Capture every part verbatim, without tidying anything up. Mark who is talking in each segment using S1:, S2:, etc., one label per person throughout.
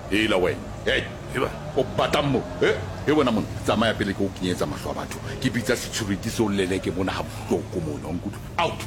S1: Hela wena. Hey,
S2: Eba.
S1: O batlang mo? Eh, he wena mona, tsamaya pele ke o kenyetsa mahlo a batho. Ke bitsa security se o leleke mona ha bohloko mona, o nkutlwa? Out.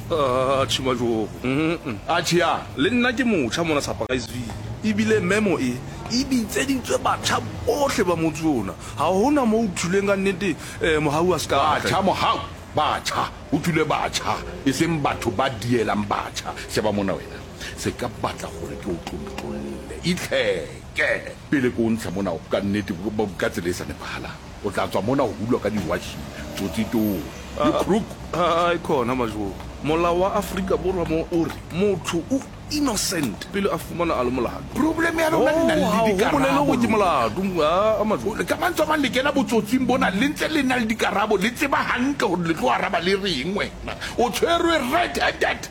S2: Atjhe Majoro. Mm.
S1: Atjhe ya.
S2: Le nna ke motjha mona Surpriseville. Ebile memo e e bitseditswe batjha bohle ba motse ona. Ha hona moo o thuleng ka nnete eh, Mohau a se ka tla.
S1: Batjha Mohau, batjha. O thule batjha, e seng batho ba dielang batjha. Sheba mona wena. Se ka batla hore ke o tlontlolle. Itlheke. Pele ke o ntsha mona ka nnete ka tsela e sa nepahalang. O tla tswa mona ho hulwa ka diwashing. Tsotsi towe. You crook.
S2: Ai khona Majoro. Molao wa Afrika Borwa mo o re motho o innocent pele a fumana a le molato.
S1: Problem ya lona le na le
S2: Oh, ha ho bolele
S1: dikarabo
S2: hore ke
S1: lona.
S2: molato. Ah, Majoro.
S1: Ka mantswe a mang le kena botsotsing bona le ntse le na le dikarabo, le tseba hantle hore le tlo araba le reng wena. O tshwerwe red handed.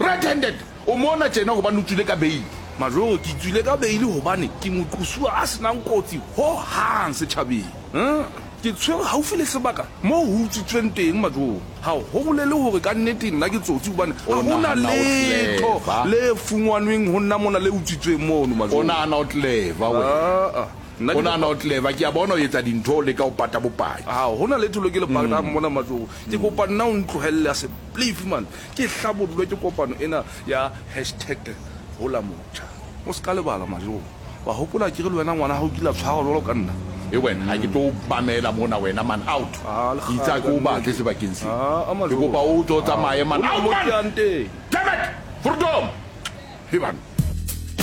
S1: Red handed. O mona tjena hobane o tswile ka bail.
S2: Majoro, ke tswile ka beile hobane ke moqosuwa a senang kotsi ho hang setjhabeng. Hmm? Ke tshwere haufi le sebaka moo ho utswitsweng teng Majoro. Ha ho bolele hore ka nnete nna ke tsotsi hobane ha
S1: O
S2: hona
S1: nahana o
S2: letho
S1: clever.
S2: le fungwanweng ho nna mona le utswitsweng mono
S1: O
S2: Majoro.
S1: nahana o clever wena.
S2: Ah, ah. Nna
S1: O
S2: ke
S1: nahana o clever. Ke a bona o etsa dintho o leka ho pata bopaki.
S2: Ha hona letho le ke le patang mona Majoro. Ke kopa nna o ntlohelle a se please man. Ke hlabollwe ke kopano ena ya hashtag hola motjha. O ska lebala Majoro. Wa hopola ke re le wena ngwana ha o kile a tshwarwa jwalo ka nna.
S1: E wena, ha ke tlo mamela mona wena man, out.
S2: Ah, le
S1: Ke itse ha ke o batle sebakeng sena.
S2: Ah, a
S1: Ke
S2: Majoro.
S1: kopa o tswe o tsamaye man.
S2: Hona
S1: Out
S2: mo
S1: man.
S2: ke yang teng.
S1: Damn it! Freedom! He bana.